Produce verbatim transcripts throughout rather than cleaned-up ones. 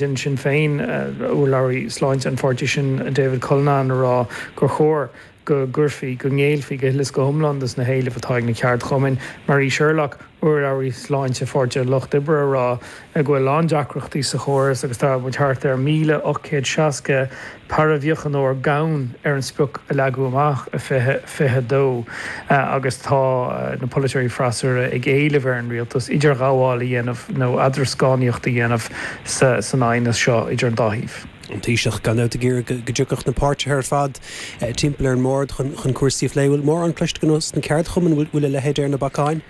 In Sinn Féin, urlabhraí sláinte an pháirtí sin David Cullinane a rá gur chóir go gcuirfí, go ngéillfí go huile is go hiomlán dos na héilimh atá ag na ceardchumainn. Marie Sherlock, urlabhraí sláinte Pháirtí an Lucht Oibre a rá go bhfuil an-deacrachtaí sa chóras agus tá muid thart ar míle ocht gcéad seasca paraimhíochaineoir gann ar an sprioc a leagadh amach i fiche fiche dó agus tá na polaiteoirí freasúra ag éileamh ar an rialtas idirghabháil a dhéanamh nó eadroscánaíocht a dhéanamh san aighneas seo idir an dá thaobh. An Taoiseach gan dabht ag iarraidh go dtiocfadh na páirtithe ar fad timpeall ar an mbord chun cúrsaí a phlé. Bhfuil mórán cloiste againn ós na ceardchumainn, bhfuil a leithéid ar na bacáin?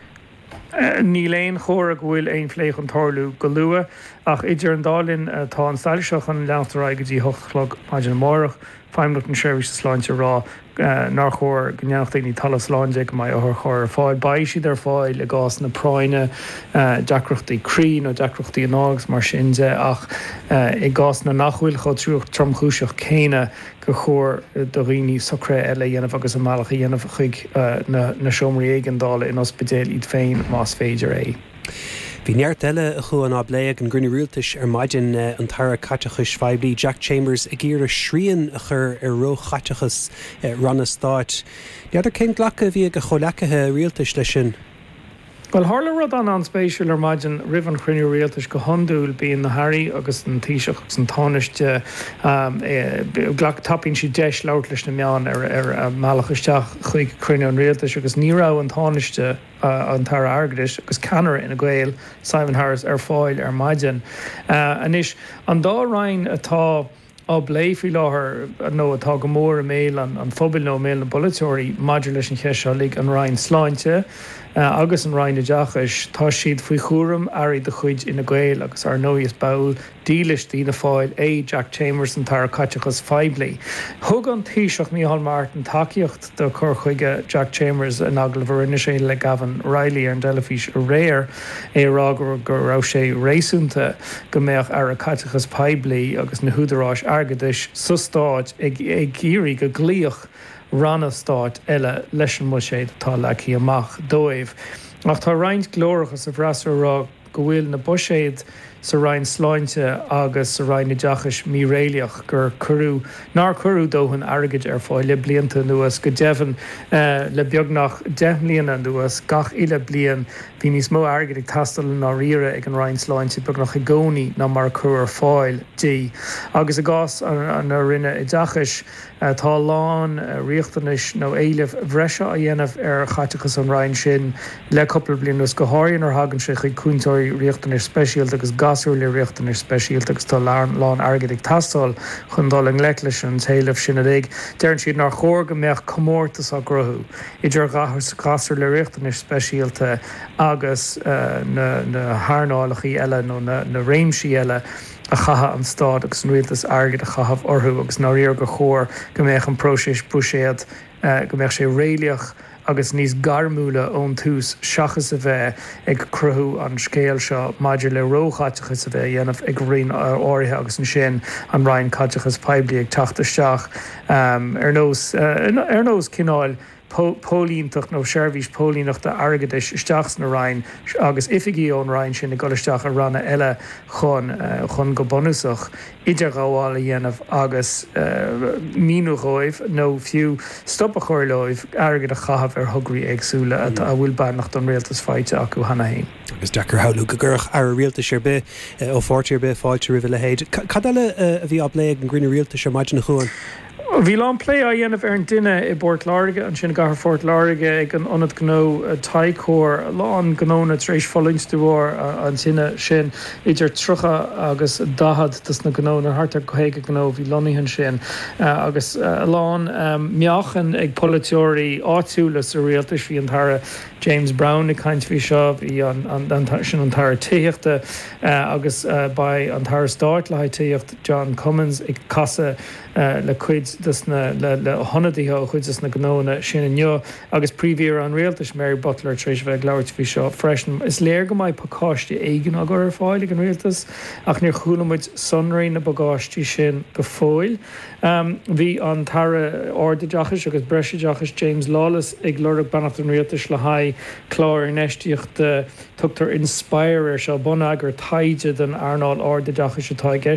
Níl aon chomhartha go bhfuil aon phlé chun tarlú go luath, ach idir an dá linn tá an stailc seo chun leanacht ar aghaidh go dtí hocht a chlog maidin amárach. Feidhmeannacht na Seirbhíse Sláinte ag rá nár chóir go ndéanfadh daoine talamh slán de go mbeidh otharchairr ar fáil. Beidh siad ar fáil i gcásanna práinne, deacrachtaí croí nó deacrachtaí anála agus mar sin de, ach i gcásanna nach bhfuil chomh tromchúiseach céanna gur chóir do dhaoine socruithe eile a dhéanamh agus a mbealach a dhéanamh chuig na seomraí éigeandála in ospidéil iad féin más féidir é. Bhí neart eile, a Chuain, á bplé ag an gcruinniú rialtais ar maidin, an tAire Caiteachais Phoiblí Jack Chambers ag iarraidh srian a chur ar róchaiteachas ranna stáit. N'fheadar cén glacadh a bhí ag a chomhleacaithe rialtais leis sin? Bhuel, tharla rud an-an-spéisiúil ar maidin roimh an chruinniú rialtais. Go hiondúil bíonn na hairí agus an Taoiseach agus an Tánaiste, glac, tapaíonn siad deis labhairt leis na meáin ar ar a mbealach isteach chuig cruinniú an rialtais agus ní raibh an Tánaiste, an tAire Airgeadais agus ceannaire Fhine Gael, Simon Harris ar fáil ar maidin. Anois, an dá roinn atá á bplé faoi láthair nó atá go mór i mbéal an phobail nó i mbéal na bpolaiteoirí maidir leis an cheist seo uilig, an Roinn Sláinte agus an Roinn Oideachais, tá siad faoi chúram airí de chuid Fhine Gael agus ar ndóigh is ball dílis d'Fhianna Fáil é Jack Chambers, an tAire Caiteachais Phoiblí. Thug an Taoiseach Micheál Martin tacaíocht do chur chuige Jack Chambers in agallamh a rinne sé le Gavin Reilly ar an dteilifís aréir, é ag rá go raibh sé réasúnta go mbeadh Aire Caiteachais Poiblí agus na húdaráis airgeadais sa stát ag iarraidh go gcloífeadh ranna stáit eile leis an mbuiséad atá leagtha amach dóibh. Ach tá roinnt glóracha sa bhfreasúra ag rá go bhfuil na buiséid sa Roinn Sláinte agus sa Roinn Oideachais míréalaíoch, gur cuireadh, nár cuireadh dóthain airgid ar fáil le blianta anuas, go deimhin le beagnach deich mbliana anuas, gach uile bliain bhí níos mó airgid ag teastáil i ndáiríre ag an Roinn Sláinte beagnach i gcónaí ná mar a cuireadh ar fáil di. Agus i gcás na Roinne Oideachais, Tá a lán riachtanais nó éilimh bhreise á dhéanamh ar chaiteachas an Roinn sin le cúpla bliain anuas, go háirithe nuair a thagann sé chuig cúntóirí riachtanais speisialta agus gasúir le riachtanais speisialta agus tá a lán airgid ag teastáil chun dul i ngleic leis an t-éileamh sin uilig. Deireann siad nár chóir go mbeadh comórtas á gcruthú idir ghasúir le riachtanais speisialta agus na hearnálacha eile nó na réimsí eile a chaithfidh an stát agus an rialtas airgead a chaitheamh orthu agus i ndáiríre gur chóir go mbeadh an próiseas buiséid, go mbeadh sé réalaíoch agus níos gairmiúla ón tús seachas a bheith ag cruthú an scéal seo maidir le róchaiteachas a bheith á dhéanamh ag roinn áirithe agus ansin an Roinn Caiteachais Poiblí ag teacht isteach ar nós ar nós cineáil póilíneacht nó seirbhís póilíneachta airgeadais isteach sna Roinn agus oifigigh ón Roinn sin ag dul isteach i ranna eile chun chun go bunúsach idirghabháil a dhéanamh agus míniú dhóibh nó fiú stop a chur leo airgead a chaitheamh ar thograí éagsúla a bhfuil beannacht an Rialtais faighte acu cheana féin. Agus deacair a shamhlú go gcuirfeadh Aire Rialtais ar bith ó pháirtí ar bith fáilte roimh a leithéid. Cad eile a bhí á bplé ag an gcruinniú rialtais ar maidin, a Chuain? Bhí a lán plé á dhéanamh ar an dtine i bPort Láirge, ansin i gcathair Phort Láirge ag an ionad gnó Ticor. A lán gnónna tar éis fulaingt de bharr an tine sin, idir tríocha agus daichead dos na gnónna, thart ar caoga gnó a bhí lonnaithe ansin, agus a lán meáchain ag polaiteoirí áitiúla sa rialtas. Bhí an tAire James Browne ag caint faoi seo, bhí an, sin an tAire Tithíochta, agus beidh an tAire Stáit le haghaidh Tithíocht, John Cummins, ag casadh le cuid des na, le hionadaithe ó chuid des na gnónna sin inniu agus Príomh-Aoire an Rialtais, Mary Butler, tar éis a bheith ag labhairt faoi seo freisin. Is léir go mbeidh pacáiste éigin á gcur ar fáil ag an Rialtas ach níor chuala muid sonraí na bpacáistí sin go fóill. Bhí an tAire Ardoideachais agus Breisoideachais James Lawless ag lorg beannacht an Rialtais le haghaidh clár infheistíochta, tugtar Inspire air seo, bonneagar taighde don earnáil ardoideachais atá i gceist.